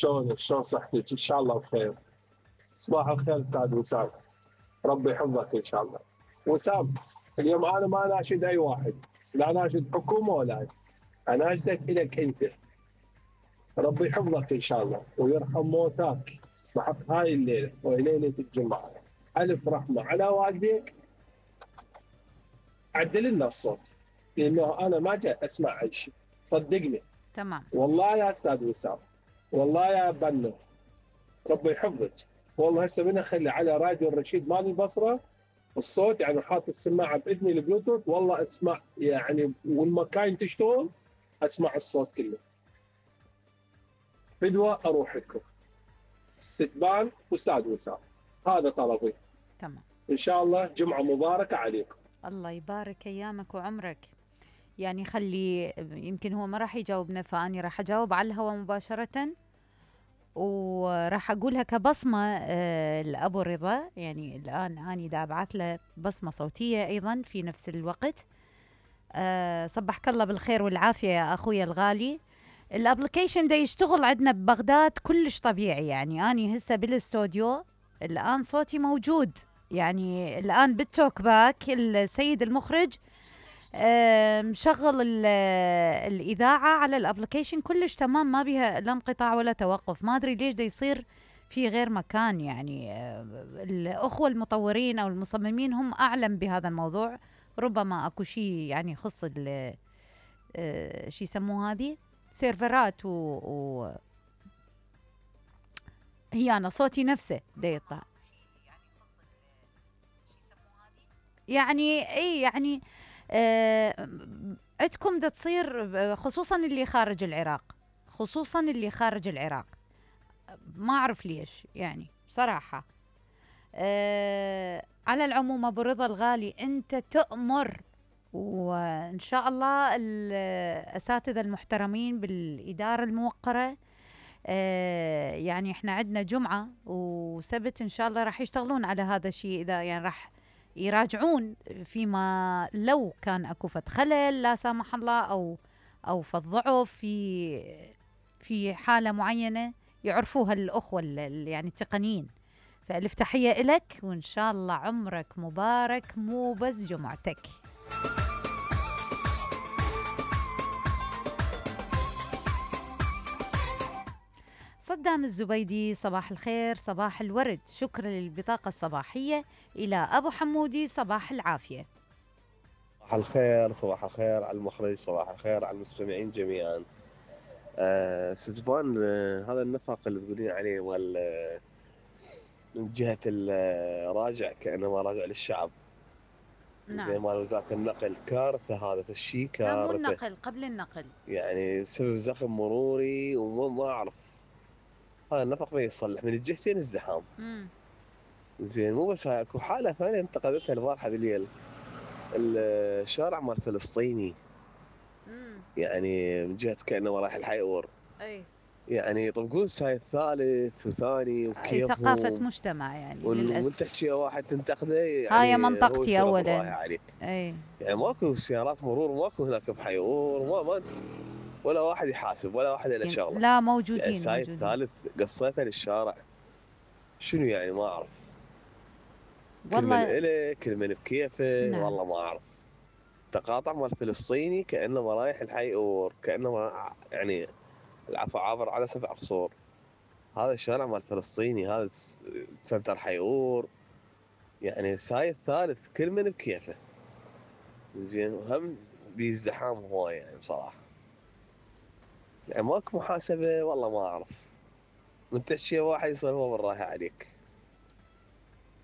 شلونك؟ شلون صحتك؟ ان شاء الله بخير. صباح الخير استاذ وسام، ربي يحفظك ان شاء الله. وسام، اليوم انا ما اناشد اي واحد، لا اناشد حكومه ولا اناشدك الك انت. ربي يحفظك ان شاء الله ويرحم موتاك بحق هاي الليله وهي ليله الجمعه. الف رحمه على والديك. عدل لنا الصوت لانه انا ما جاي اسمع اي شيء، صدقني. تمام. والله يا استاذ وسام، والله يا بنو، ربي يحفظك. والله هسه من اخلي على راديو الرشيد مال البصره الصوت، يعني حاط السماعه باذني البلوتوث، والله اسمع يعني والمكاين تشتغل اسمع الصوت كله. فدوه اروح لكم استقبال استاذ وسام، هذا طلبي. تمام. ان شاء الله جمعه مباركه عليكم. الله يبارك ايامك وعمرك. يعني خلي، يمكن هو ما راح يجاوبنا فاني راح اجاوب على الهواء مباشره، وراح اقولها كبصمه لابو رضا. يعني الان اني دا ابعث له بصمه صوتيه ايضا في نفس الوقت. صبحك الله بالخير والعافيه يا اخويا الغالي. الابلكيشن دا يشتغل عندنا ببغداد كلش طبيعي. يعني اني هسه بالاستوديو الان صوتي موجود، يعني الان بالتوك باك السيد المخرج مشغل الإذاعة على الابلكيشن كلش تمام، ما بيها لا انقطاع ولا توقف. ما أدري ليش دا يصير في غير مكان. يعني الأخوة المطورين أو المصممين هم أعلم بهذا الموضوع. ربما أكو شيء يعني يخص شي يسموه هذه سيرفرات هي أنا صوتي نفسه دا يطلع. يعني اي يعني عندكم دا تصير، خصوصا اللي خارج العراق، خصوصا اللي خارج العراق، ما اعرف ليش يعني بصراحة. على العموم ابو رضا الغالي انت تؤمر، وان شاء الله الاساتذة المحترمين بالادارة الموقرة يعني احنا عندنا جمعة وسبت ان شاء الله راح يشتغلون على هذا الشيء. اذا يعني راح يراجعون فيما لو كان اكو فد خلل لا سامح الله او فد ضعف في حالة معينة يعرفوها الاخوة يعني التقنيين. فالف تحية إلك وان شاء الله عمرك مبارك مو بس جمعتك. صدام الزبيدي صباح الخير صباح الورد، شكرا للبطاقة الصباحية. إلى أبو حمودي صباح العافية. صباح الخير، صباح الخير على المخرج، صباح الخير على المستمعين جميعا. ستبان هذا النفق اللي تقولين عليه من جهة الراجع كأنما راجع للشعب. نعم. زي مال وزارة النقل كارثة، هذا الشيء كارثة. لا مو النقل، قبل النقل يعني سبب زخم مروري وما أعرف. هذا النفق ما يصلح من الجهتين الزحام. زين مو بس هاي، اكو حالة ثانية انتقدتها البارحة بالليل، الشارع مال فلسطيني. يعني من جهة كأنه رايح الحيور. اي يعني يطبقون سايد ثالث وثاني وكيفهم. ثقافة مجتمع يعني للأسف. وانت تحكي واحد تنتقده يعني هاي منطقتي اولا. عليك. اي يعني ماكو سيارات مرور، ماكو هناك بحيور، ما ولا واحد يحاسب ولا واحد له شغله. لا موجودين. يعني سايد ثالث قصيته للشارع، شنو يعني ما اعرف. والله كل من إله كل من بكيفه. نعم. والله ما اعرف. تقاطع مال فلسطيني كانه رايح الحيور، كانه يعني العفو عابر على 7 قصور. هذا الشارع مال فلسطيني، هذا سنتر حيور، يعني سايد ثالث كل من بكيفه. زين وهم بيزدحام هواي يعني بصراحه. يعني ماكو محاسبه. والله ما اعرف. من تحكي واحد يصير هو بالراحه عليك.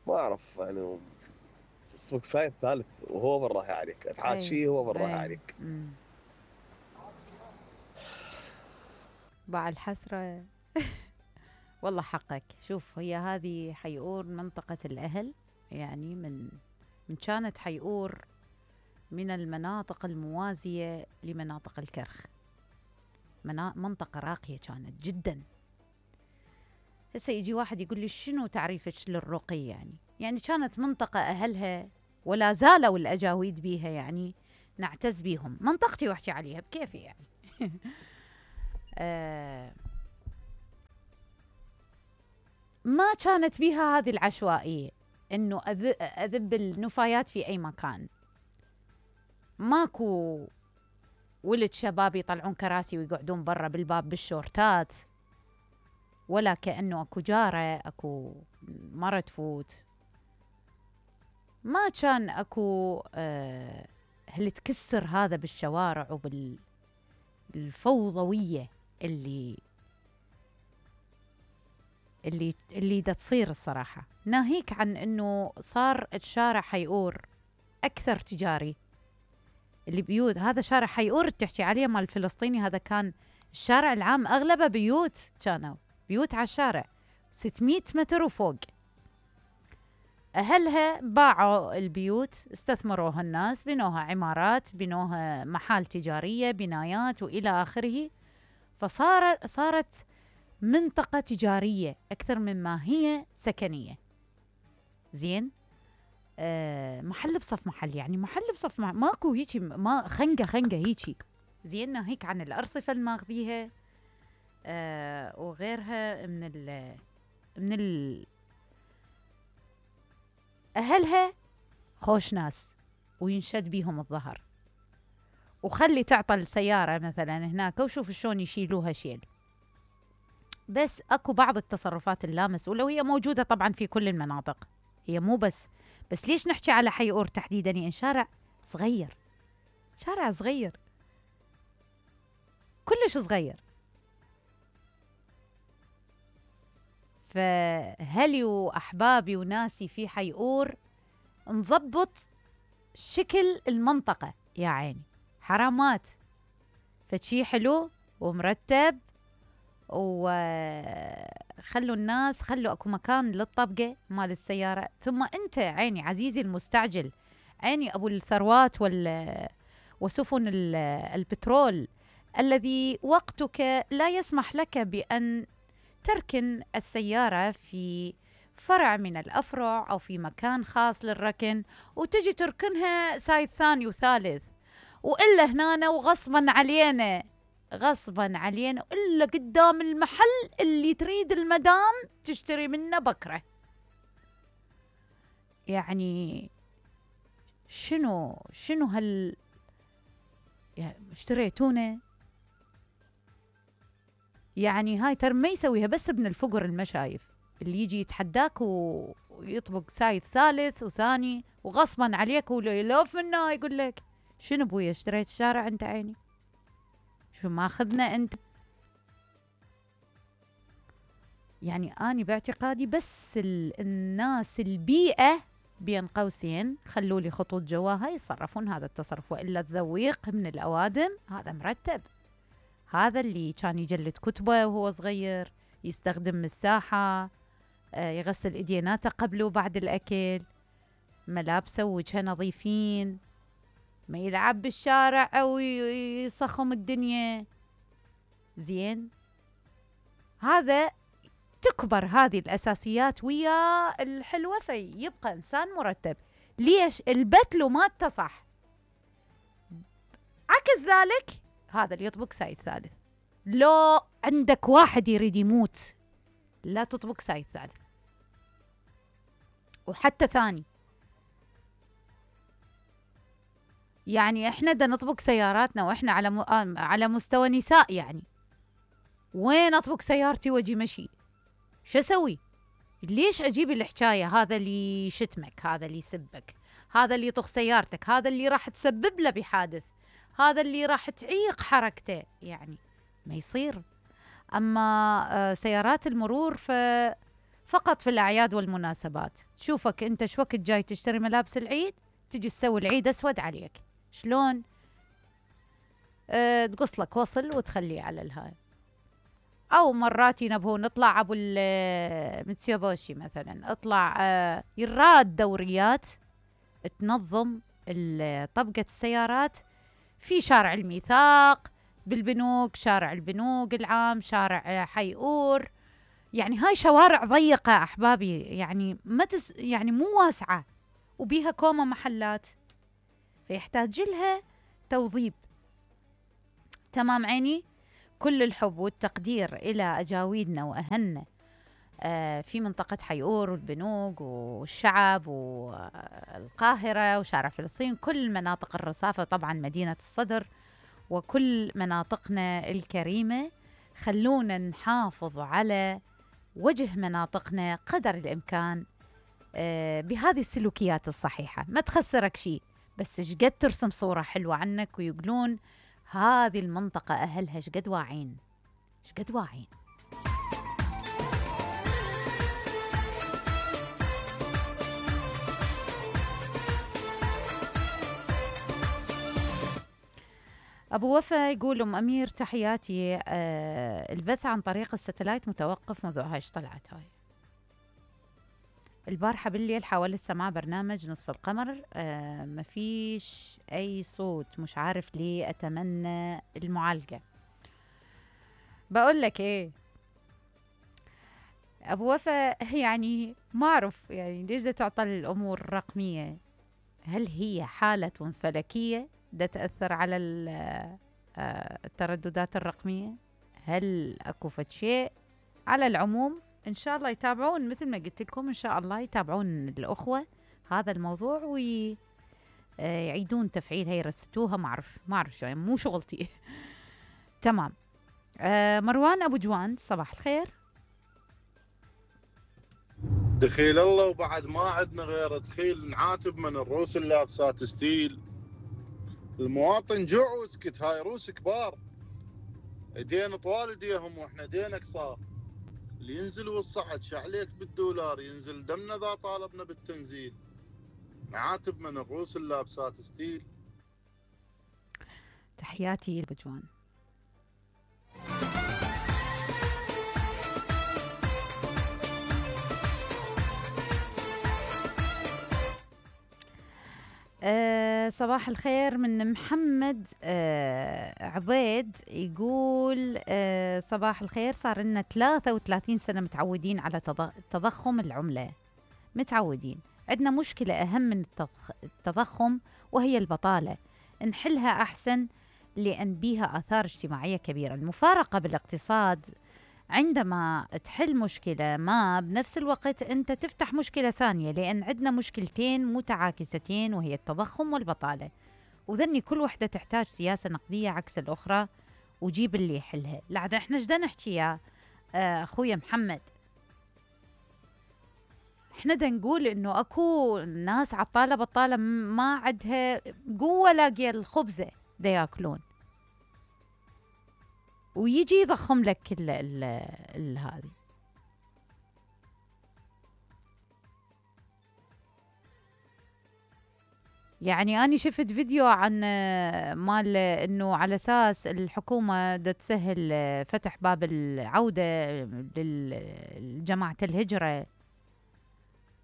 ما اعرف يعني ترك سايد ثالث وهو بالراحه عليك، تحاشيه هو بالراحه عليك. باع الحسرة. والله حقك. شوف هي هذه حيور منطقة الأهل، يعني من كانت حيور من المناطق الموازية لمناطق الكرخ، منطقة راقية كانت جدا. هسه يجي واحد يقول لي شنو تعريفك للرقي؟ يعني كانت منطقة أهلها ولا زالوا الأجاويد بيها، يعني نعتز بيهم. منطقتي واحكي عليها بكيفي يعني. ما كانت بيها هذه العشوائية انه اذب النفايات في اي مكان. ماكو ولد شباب يطلعون كراسي ويقعدون برا بالباب بالشورتات، ولا كأنه اكو جارة اكو مرة تفوت. ما كان اكو اللي تكسر هذا بالشوارع وبالفوضوية اللي دا تصير الصراحة. ناهيك عن انه صار الشارع حيقور اكثر تجاري. اللي بيوت هذا شارع حيقور اللي تحكي عليه مال الفلسطيني، هذا كان الشارع العام اغلبه بيوت، كانوا بيوت على الشارع 600 متر وفوق. اهلها باعوا البيوت، استثمروها الناس، بنوها عمارات، بنوها محال تجارية، بنايات والى اخره. صارت منطقة تجارية أكثر مما هي سكنية. زين. محل بصف محل، يعني محل بصف محل، ماكو هيجي ما خنقة هيجي. زين. ناهيك عن الأرصفة الماخذيها وغيرها من أهلها خوش ناس وينشد بيهم الظهر. وخلي تعطل سيارة مثلا هناك وشوف شلون يشيلوها شيل. بس اكو بعض التصرفات اللامسؤولة وهي موجودة طبعا في كل المناطق، هي مو بس ليش نحكي على حي اور تحديدا؟ يعني شارع صغير، شارع صغير كلش صغير. فهلي واحبابي وناسي في حي اور نضبط شكل المنطقة يا عيني، حرامات فشي حلو ومرتب، وخلوا الناس، خلوا اكو مكان للطبقة مال السيارة. ثم انت عيني عزيزي المستعجل، عيني ابو الثروات وسفن البترول الذي وقتك لا يسمح لك بأن تركن السيارة في فرع من الأفرع أو في مكان خاص للركن، وتجي تركنها سايد ثاني وثالث، وإلا هنا وغصبا علينا إلا قدام المحل اللي تريد المدام تشتري منه بكرة. يعني شنو يعني اشتريتونه؟ يعني هاي ترى ما يسويها بس ابن الفقر المشايف اللي يجي يتحداك ويطبق سايد ثالث وثاني وغصبا عليك ولوف منه يقول لك شنو بويا اشتريت الشارع انت عيني؟ شو ماخذنا انت؟ يعني اني باعتقادي بس الناس البيئة بين قوسين خلوا لي خطوط جواها يتصرفون هذا التصرف، والا الذويق من الاوادم هذا مرتب، هذا اللي كان يجلد كتبه وهو صغير، يستخدم مساحة، يغسل ايديناته قبل وبعد الاكل، ملابسه ووجهه نظيفين، ما يلعب بالشارع او يصخم الدنيا. زين. هذا تكبر هذه الاساسيات ويا الحلوة يبقى انسان مرتب. ليش؟ البتلو ما اتصح. عكس ذلك هذا اللي يطبق سايد ثالث، لو عندك واحد يريد يموت لا تطبق سايد ثالث وحتى ثاني. يعني احنا دا نطبق سياراتنا واحنا على مستوى نساء، يعني وين اطبق سيارتي واجي مشي؟ شو اسوي؟ ليش اجيب الحكايه؟ هذا اللي يشتمك، هذا اللي يسبك، هذا اللي يطخ سيارتك، هذا اللي راح تسبب له بحادث، هذا اللي راح تعيق حركته، يعني ما يصير. اما سيارات المرور فقط في الاعياد والمناسبات. تشوفك انت شو وقت جاي تشتري ملابس العيد، تجي تسوي العيد اسود عليك، شلون؟ تقص لك وصل وتخليه على الهاي. او مرات ينبهون نطلع ابو متسيوبوشي مثلا، اطلع يراد دوريات تنظم طبقة السيارات في شارع الميثاق، بالبنوك، شارع البنوك العام، شارع حي اور. يعني هاي شوارع ضيقة احبابي، يعني يعني مو واسعة وبيها كومة محلات، فيحتاج لها توظيب. تمام عيني. كل الحب والتقدير إلى أجاويدنا وأهلنا في منطقة حيور والبنوك والشعب والقاهرة وشارع فلسطين، كل مناطق الرصافة، طبعا مدينة الصدر وكل مناطقنا الكريمة. خلونا نحافظ على وجه مناطقنا قدر الإمكان بهذه السلوكيات الصحيحة. ما تخسرك شيء، بس شقد ترسم صورة حلوة عنك ويقولون هذه المنطقة أهلها شقد واعين، شقد واعين. أبو وفا يقول أم أمير تحياتي، البث عن طريق الستلايت متوقف منذ هايش طلعت هاي البارحة بالليل، حاولت سماع برنامج نصف القمر، مفيش أي صوت، مش عارف ليه، أتمنى المعالجة. بقول لك إيه أبو وفا، يعني ما أعرف يعني ليش دا تعطل الأمور الرقمية. هل هي حالة فلكية دا تأثر على الترددات الرقمية؟ هل أكو فد شيء؟ على العموم إن شاء الله يتابعون، مثل ما قلت لكم إن شاء الله يتابعون الأخوة هذا الموضوع ويعيدون تفعيلها، يرستوها، ما أعرف يعني مو شغلتي. تمام. مروان أبو جوان صباح الخير. دخيل الله، وبعد ما عندنا غير دخيل نعاتب من الروس اللابسات ستيل. المواطن جوع وسكت، هاي روس كبار ايدين طوال ايديهم واحنا ايدينا قصار. اللي ينزل والصعد شعليك بالدولار ينزل دمنا ذا طالبنا بالتنزيل. نعاتب من الروس اللابسات ستيل. تحياتي البجوان. صباح الخير من محمد عبيد، يقول صباح الخير، صار لنا 33 سنة متعودين على تضخم العملة، متعودين. عندنا مشكلة أهم من التضخم وهي البطالة، نحلها أحسن لأن بيها آثار اجتماعية كبيرة. المفارقة بالاقتصاد عندما تحل مشكلة ما بنفس الوقت أنت تفتح مشكلة ثانية، لأن عندنا مشكلتين متعاكستين وهي التضخم والبطالة، وذني كل وحدة تحتاج سياسة نقدية عكس الأخرى وجيب اللي يحلها. لعد احنا جدا نحكي يا أخويا محمد، احنا دا نقول انه اكو ناس عطالة بطالة ما عندها قوة لاقية الخبزة دا ياكلون، ويجي يضخم لك هذه. يعني أنا شفت فيديو عن مال إنه على أساس الحكومة دا تسهل فتح باب العودة لجماعة الهجرة،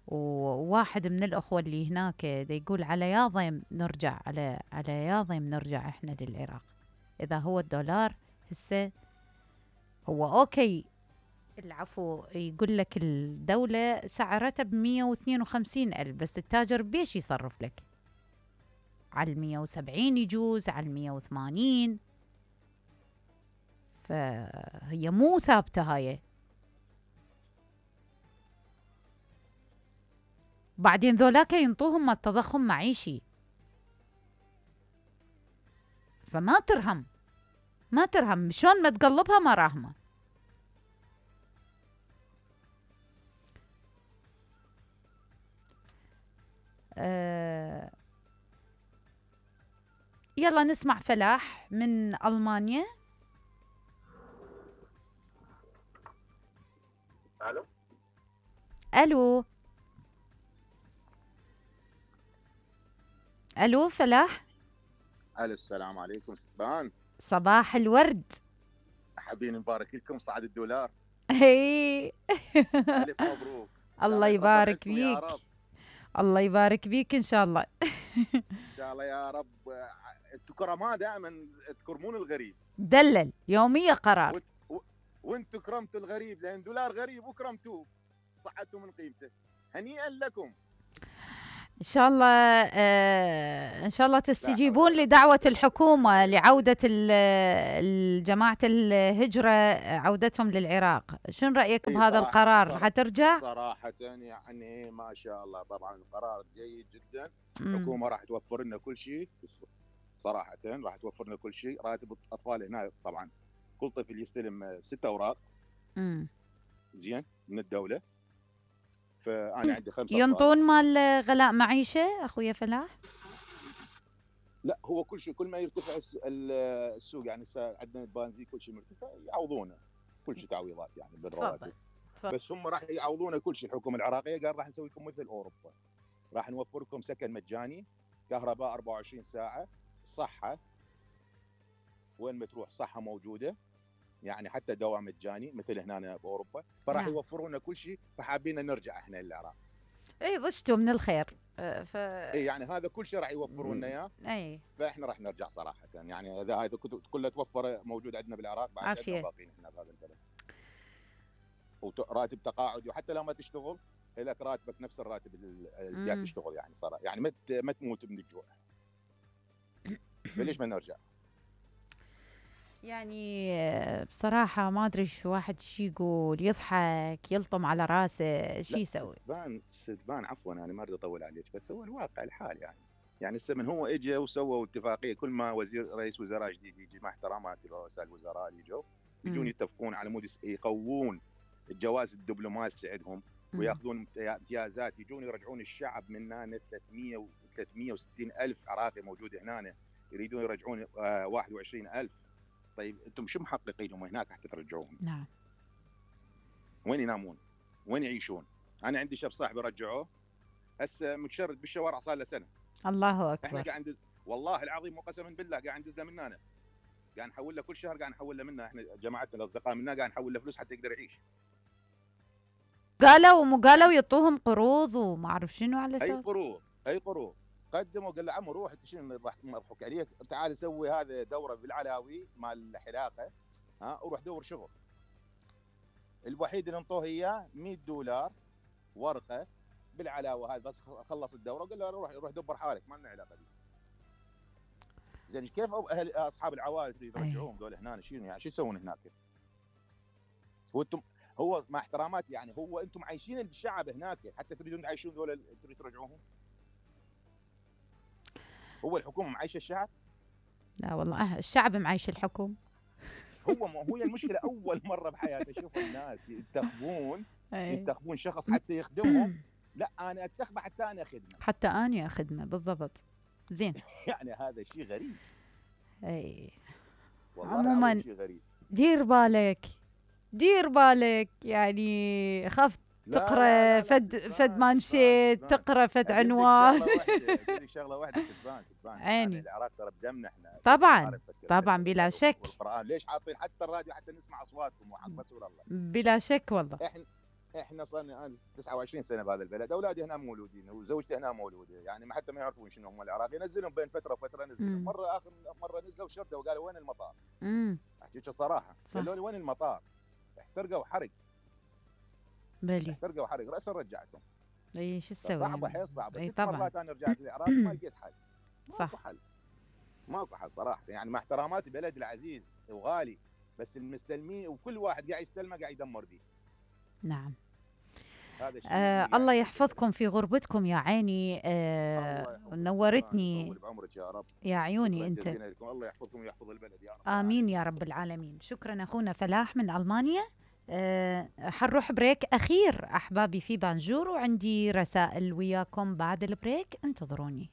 وواحد من الأخوة اللي هناك دا يقول على ياضيم نرجع، على ياضيم نرجع إحنا للعراق. إذا هو الدولار هسه هو أوكي، العفو، يقول لك الدولة سعرتها ب152,000، بس التاجر بيش يصرف لك على 170، يجوز على 180، فهي مو ثابتة هاي. بعدين ذولاك ينطوهم التضخم معيشي، فما ترهم، ما ترهم شلون ما تقلبها ما راهمة. يلا نسمع فلاح من ألمانيا. الو الو الو فلاح. الو، السلام عليكم ستبان. صباح الورد. حابين نبارك لكم صعد الدولار. هي الف مبروك. الله يبارك فيك، الله يبارك فيك ان شاء الله. ان شاء الله يا رب. انتم كرماء دائما تكرمون الغريب، دلل يوميه قرار، وانتم كرمتوا الغريب لان دولار غريب وكرمتوه صعدتوا من قيمته. هنيئا لكم. إن شاء الله إن شاء الله تستجيبون لدعوة الحكومة لعودة جماعة الهجرة، عودتهم للعراق. شنو رأيك بهذا القرار؟ حترجع؟ صراحة يعني ما شاء الله، طبعا قرار جيد جدا. الحكومة راح توفر لنا كل شيء، صراحة راح توفر لنا كل شيء. راتب الأطفال هنا طبعا كل طفل يستلم 6 أوراق زين من الدولة. فأنا عندي 5 ينطون مال غلاء معيشة أخويا فلاح؟ لا، هو كل شيء كل ما يرتفع السوق، يعني عندنا البنزين كل شيء مرتفع، يعوضونه كل شيء تعويضات يعني بالرواتب. بس هم راح يعوضونه كل شيء. الحكومة العراقية قال راح نسوي لكم مثل أوروبا، راح نوفر لكم سكن مجاني، كهرباء 24 ساعة، صحة وين ما تروح صحة موجودة، يعني حتى دواء مجاني مثل هنا بأوروبا. فراح يوفرونا كل شيء. فحابين نرجع احنا للعراق. اي ضجتوا من الخير. اي يعني هذا كل شيء راح يوفروا لنا اياه. اي فاحنا راح نرجع صراحه. يعني اذا هذا كله توفر موجود عندنا بالعراق، بعد عندنا باقيين احنا بهذا البلد. وراتب تقاعدي، وحتى لو ما تشتغل لك راتبك نفس الراتب اللي قاعد تشتغل، يعني صراحه يعني ما تموت من الجوع. فليش ما نرجع؟ يعني بصراحة ما أدري شو واحد شي يقول، يضحك يلطم على راسه، شي يسوي؟ سدبان عفوا، أنا ما أريد أطول عليك، بس هو الواقع الحال. يعني السمن هو إجا وسووا اتفاقية. كل ما رئيس وزراء جديد يجي، مع احتراماتي لرؤساء الوزراء اللي يجون يتفقون على مود يقوون الجواز الدبلوماسي عندهم، وياخذون امتيازات، يجون يرجعون الشعب من هنا. 360 ألف عراقي موجود هنا، يريدون يرجعون 21 ألف. طيب انتم شو محققينهم هناك حتى ترجعوهم؟ نعم. وين ينامون؟ وين يعيشون؟ انا عندي شاب صاحبي رجعوه هسه متشرد بالشوارع صار له سنه. الله اكبر. احنا قاعد والله العظيم وقسما بالله قاعد ندز له من هنا، قاعد نحول له كل شهر، قاعد نحول له منها. احنا جماعتنا الاصدقاء منا قاعد نحول له فلوس حتى يقدر يعيش. قالوا ومو قالوا يعطوهم قروض وما اعرف شنو على اساس. اي قروض قدموا. قال له عمو روح انت شنو راح نضحك عليك، تعال سوي هذا دوره بالعلاوي مال الحلاقه، وروح دور شغل. الوحيد اللي انطوه اياه $100 ورقه بالعلاوه هذا، بس خلص الدوره وقال له روح دبر حالك، ما لنا علاقه بيه. زين كيف اهل اصحاب العوائل يرجعوهم دول هنا؟ شنو يعني شو يسوون هناك؟ هو مع احتراماتي يعني، هو انتم عايشين الشعب هناك حتى تريدون تعيشون دول ترجعوهم؟ هو الحكومه معيشه الشعب؟ لا والله الشعب معيش الحكومه. هو المشكله اول مره بحياتي اشوف الناس ينتخبون شخص حتى يخدمهم. لا انا انتخبه حتى انا اخدمه. حتى انا اخدمه بالضبط. زين. يعني هذا شيء غريب. اي عموما شيء غريب. دير بالك يعني. خفت تقرا فد مانشيت، تقرا فد عنوان. شغله واحده سدبان عيني. العراق ترى بدمنا احنا. طبعا بلا شك. القرآن ليش حاطين حتى الراديو حتى نسمع اصواتكم وحق رسول الله؟ بلا شك والله. احنا صرنا 29 سنه بهذا البلد، اولادي هنا مولودين وزوجتي هنا مولوده، يعني حتى ما يعرفون شنو هم العراق. ينزلهم بين فتره وفتره، نزلهم مره اخر مره نزلوا شرده وقالوا وين المطار؟ احكيك الصراحه، قالوا لي وين المطار؟ احترقوا حرق. احترقوا حرق، راسا رجعتهم. اي شو تسوي؟ صعبه حيل صعبه. 6 طبعا. مرات انا رجعت للعراق ما لقيت حل. صح. ماكو حل صراحه، يعني مع احتراماتي بلد العزيز وغالي، بس المستلمين وكل واحد قاعد يستلمه قاعد يدمر به. نعم. هذا الشيء الله يحفظكم في غربتكم يا عيني. نورتني. بعمرك يا رب. يا عيوني انت. الله يحفظكم ويحفظ البلد يا رب. امين يا رب العالمين. شكرا اخونا فلاح من المانيا. حنروح بريك اخير احبابي في بانجور، وعندي رسائل وياكم بعد البريك، انتظروني.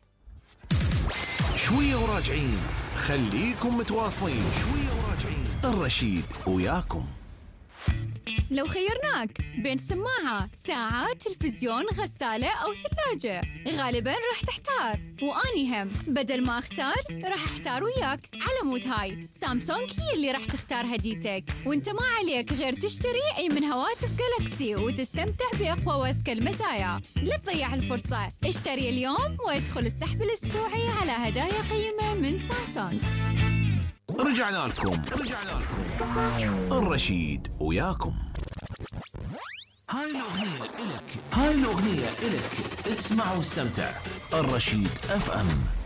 شويه وراجعين، خليكم متواصلين. شويه وراجعين، الرشيد وياكم. لو خيرناك بين سماعة، ساعة، تلفزيون، غسالة أو ثلاجة، غالباً راح تحتار. وأني هم بدل ما أختار راح أحتار وياك. على مود هاي سامسونج هي اللي راح تختار هديتك، وانت ما عليك غير تشتري أي من هواتف جالاكسي وتستمتع بأقوى وأذكى المزايا. لا تضيع الفرصة، اشتري اليوم وادخل السحب الأسبوعي على هدايا قيمة من سامسونج. رجعنا لكم الرشيد وياكم. هاي الأغنية إلك، هاي الأغنية إلك. اسمع واستمتع. الرشيد FM.